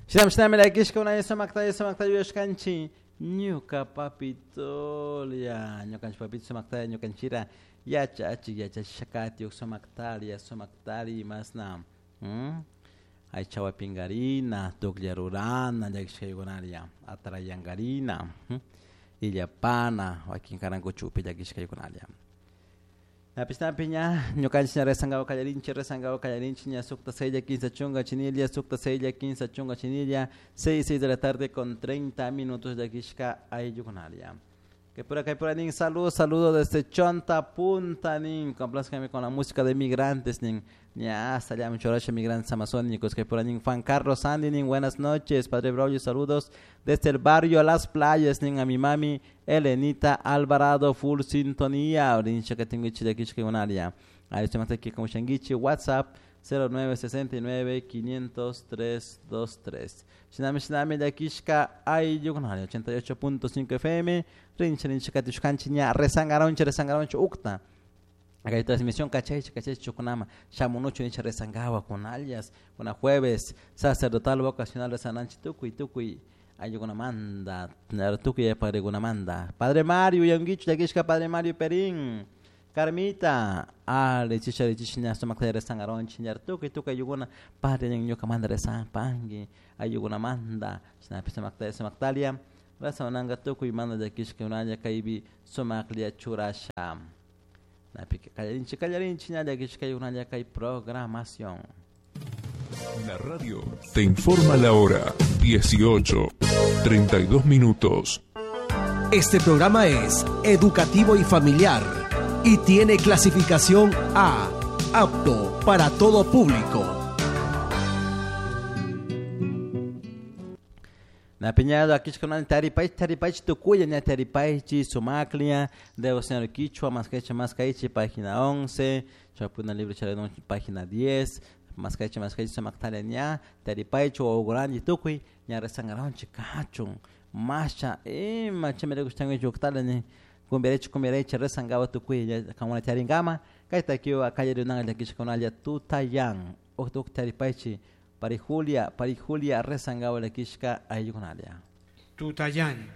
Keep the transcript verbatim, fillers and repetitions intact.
Shinami shinami llakishka unay sumakta sumakta yuyashkanchik ñuka papitolia ñukanchik papito sumakta ñukanchira yachachik yachachishakatiuk sumaktaria sumaktari masna aychawapinkarina tuklla rurana llakishkaykunaria atrayankarina illapana wakin karankuchupi llakishkaykunaria. Napi ña ñukanchik ña rezangawa kallarinchik rezangawa kallarinchik ña sukta sella quince chunga chinilla sukta sella quince chunga chinilla seis seis de la tarde con treinta minutos llakishka ayllukunaria. Que por acá por nin saludo saludo desde Chonta Punta nin complázcame con la música de migrantes nin ña hasta allá mucho migrantes amazónicos que por nin Juan Carlos Andy nin buenas noches Padre Braulio saludos desde el barrio Las Playas nin a mi mami Elenita Alvarado full sintonía orincha que tengo de aquí que un área ahí se aquí como Shanguichi WhatsApp cero nueve sesenta y nueve quinientos tres dos tres. Shinami shinami llakishka ayllukunari ochenta y ocho punto cinco F M rincha rincha katushkanchi ña rezangaronchi rezangaronchi ukta acá hay transmisión cachaichi cachaichi chukunama shamunuchu nicha rezangawa con alias una jueves sacerdotal vocacional rezananchi tukuy tukuy ayllukunamanta tukuy padrekunamanta Padre Mario yanguichu llakishka Padre Mario Perín Carmita, ale chicha chicha ña sumakta rezangaronchi ña tukuy tukuy ayllukunamanta padre ñukamanta rezanpanki ayllukunamanta shinapi sumakta sumaktalia rezananga tukuy manda llakishka unalla kaypi sumaklla churasha napi kallarinchi kallarinchi ña llakishka unalla kay programación. La radio te informa la hora dieciocho, treinta y dos minutos. Este programa es educativo y familiar y tiene clasificación A, apto para todo público. Na piñado aquí con el taripay, taripay tucuya, ña taripay, chi sumaklia, debo señor Quichua, más que más que página once, chapuna libro charedón, página diez, más que más que sumaktalia ña, taripay, chu ogurani tucuy, ña rezangaron chicachun, masha, eh, macha me gustan yuctala ni cumbiarecho, cumbiarecho, rezangaba tucuy, ya como la charingama, kaita kio a calle de una la quichua con alia tutayan, octuk taripay chi. Pari Julia, Pari Julia rezangaba la quishka ayunalia. Tutayán.